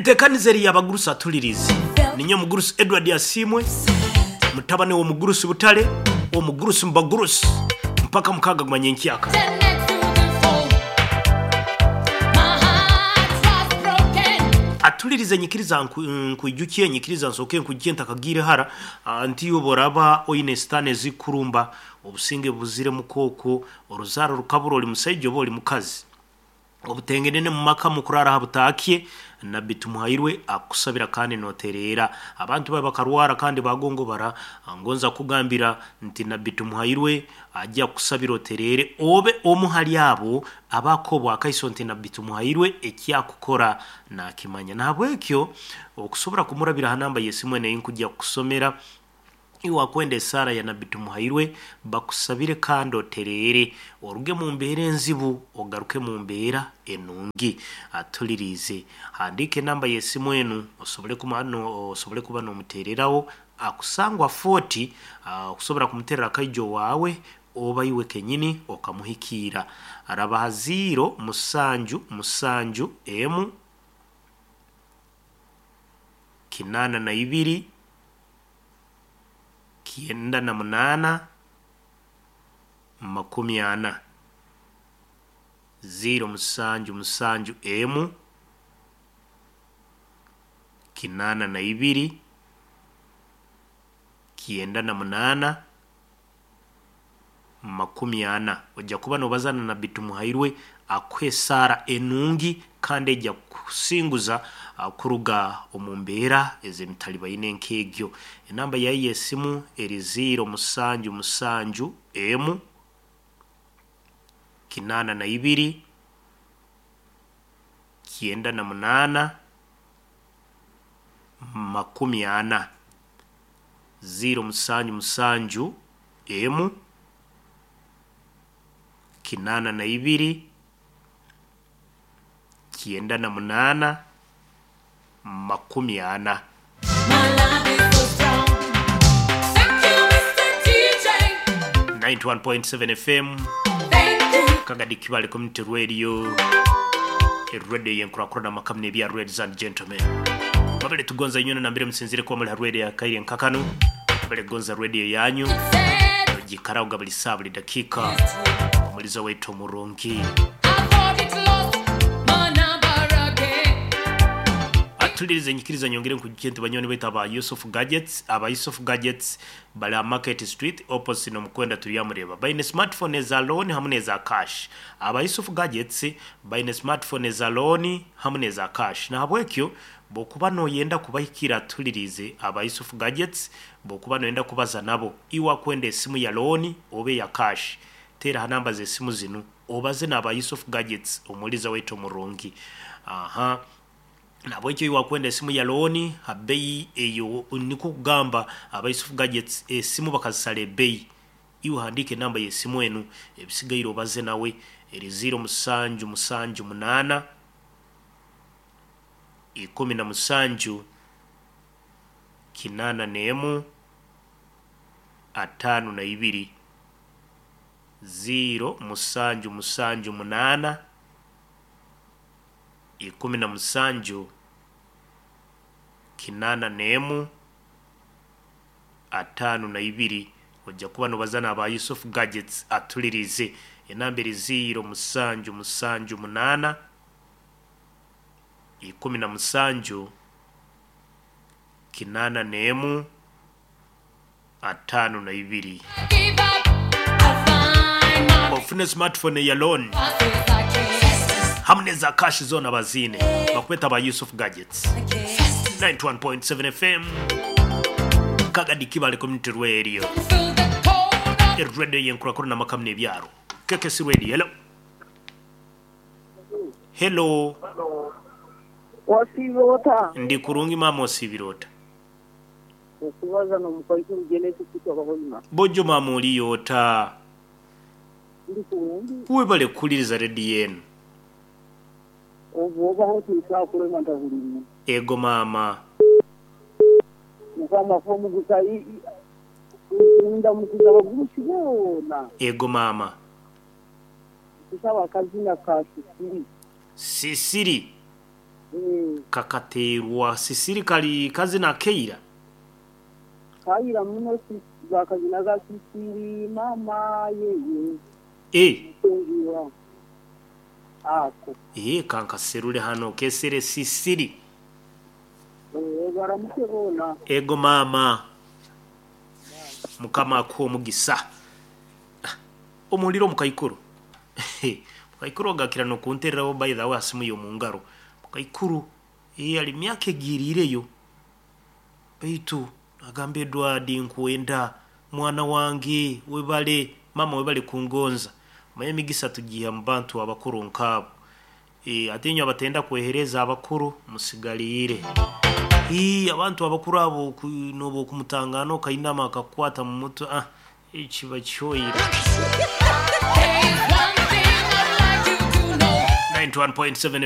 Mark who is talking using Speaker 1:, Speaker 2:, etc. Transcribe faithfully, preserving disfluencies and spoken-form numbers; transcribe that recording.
Speaker 1: Entekaniza eri y'abagurusi atulirize. Ninye omugurusi Edward Asiimwe, mutabani w'omugurusi Butale, omugurusi mu bagurusi mpaka mukaaga gumanye enkyaka. Atulirize nyikiriza nku- nkwijukye, nyikiriza nsooke nkwijukye ntakagiire hara. Ah, nti oboraba oine sitaani ezikurumba obusinge buzire mukooko, oruzaaro rukabura, oli musaija oba oli mukazi, obutengenene mu maka mukurara ha butaakye, Nabbi Tumuhairwe akusabira kandi notereera. Abantu babe bakarwara kandi bagongobara, ngonza kugambira nti Nabbi Tumuhairwe ajja kukusabira otereere, obe omu hali abo abakobwa akaiso nti Nabbi Tumuhairwe ekyakukora nakimanya. Nahabwekyo okusobora kumurabira ha namba y'esimu eno einkujja kukusomera, iwe akwenda esaara ya Nabbi Tumuhairwe bakusabire kandi otereere, oruge mu mbeera enzibu ogaruke mu mbeera enungi. Atuliriize, handiika enamba y'esimu enu osobole kuma no, osobole kuba n'omuteereraho akusangwa forty, ah, okusobora kumuterera akaijo waawe oba iwe kenyini okamuhikiira. Araba ha ziro musanju musanju emu kinaana na ibiri kyenda na munaana makumi ana, ziro musanju musanju emu kinaana na ibiri kyenda na munaana makumi ana. Ojja kuba nobaza na Nabbi Tumuhairwe akuhe esaara enungi kandi ejja kukusinguza ah, kuruga omu mbeera ez'emitalibaine nk'egyo. Enamba yaye y'esimu eri ziro musanju musanju emu kinaana na ibiri kyenda na munaana makumi ana, ziro musanju musanju emu kinaana na ibiri kyenda na munaana makumi ana. ninety-one point seven F M, Kagadi Kibale Community Radio, radio yenkurakurana makamu n'ebya ladies and gentlemen. Mabele tugonza inyona nambire musinzire kuba muri ha radio ya Kaire Nkakano, mabele gonza radio yanyu gikarauga buli saa buli dakika, omulizo wetu omurungi. Atulirize nyikiriza nyongere nkujukye nti banywani baitu aba Yusuf Gadgets, aba Yusuf Gadgets bali ha Market Street opposite n'omukwenda turyamureba. Baine smartphone eza loan hamu n'eza cash. Aba Yusuf Gadgets baine smartphone eza loan hamu n'eza cash. Nahabwekyo bwokuba noyenda kubahikira atulirize aba Yusuf Gadgets, bwokuba noyenda kubaza nabo, iwe akwenda esimu ya loan obe ya cash, tera ha namba z'esimu zinu obaze n'aba Yusuf Gadgets omuliza waitu omurungi. Aha. Nabwekyo iwe akwenda esimu ya loan ha bei eyo, niko kugamba aba Yusuf Gadgets esimu bakazisala ebei. Iwe handike enamba y'esimu enu ebisigaire obaze nawe eri ziro musanju musanju munaana ikumi na musanju kinaana n'emu ataano na ibiri, ziro musanju musanju munaana ikumi na musanju kinaana n'emu ataano na ibiri. Ojja kuba nobaza n'aba Yusuf Gadgets atulirize. Enamba eri ziro musanju musanju munaana ikumi na musanju kinaana n'emu ataano na ibiri. Ofune smartphone ya loan hamu n'eza cash zona bazine bakweta ba Yusuf Gadgets. ninety-one point seven F M, Kagadi Kibale Community Radio, radio yenkurakurana n'amakamu n'ebyaro. K K C Radio. Hello. Hello.
Speaker 2: Wasibirota.
Speaker 1: Ndi kurungi mama osibirota.
Speaker 2: Okubaza n'omukazi Genesis kutoka.
Speaker 1: Bojo mama oliyota.
Speaker 2: Ndi kurungi.
Speaker 1: Webale kukuliriza radio yenu.
Speaker 2: Oba hotuuka kulema ntahulirimu.
Speaker 1: Ego mama.
Speaker 2: Mukama fomugusa ndamukiza abagurusi boona.
Speaker 1: Ego mama.
Speaker 2: Kusaba akazina ka Sisiri.
Speaker 1: Sisiri.
Speaker 2: Mm.
Speaker 1: Kakaterwa sisiri kali kazina keira.
Speaker 2: Kaira muno si- bakazinaga sisiri mama yeye
Speaker 1: E
Speaker 2: mutungiwa ako.
Speaker 1: E kankaserule hano kesere sisiri.
Speaker 2: Eh, baramuke bona.
Speaker 1: Ego mama, mukama akuha omugisa. Ah, omuliro mukaikuru mukaikuru ogakira nokuntereraho, by the way asimu yomungaro mukaikuru eh, ali myaka egiriireyo, baitu agamba Edward nkwenda mwana wange, webale mama, webale kungonza. Manye emigisa tugiha mu bantu abakuru nkaabo. e, ate inywe abatenda kwehereza abakuru musigaliire. Ii, abantu abakuru abo ku- noba okumutangana okainama akakukwata mu mutwe, ah, ekiba kyoyire. ninety-one point seven.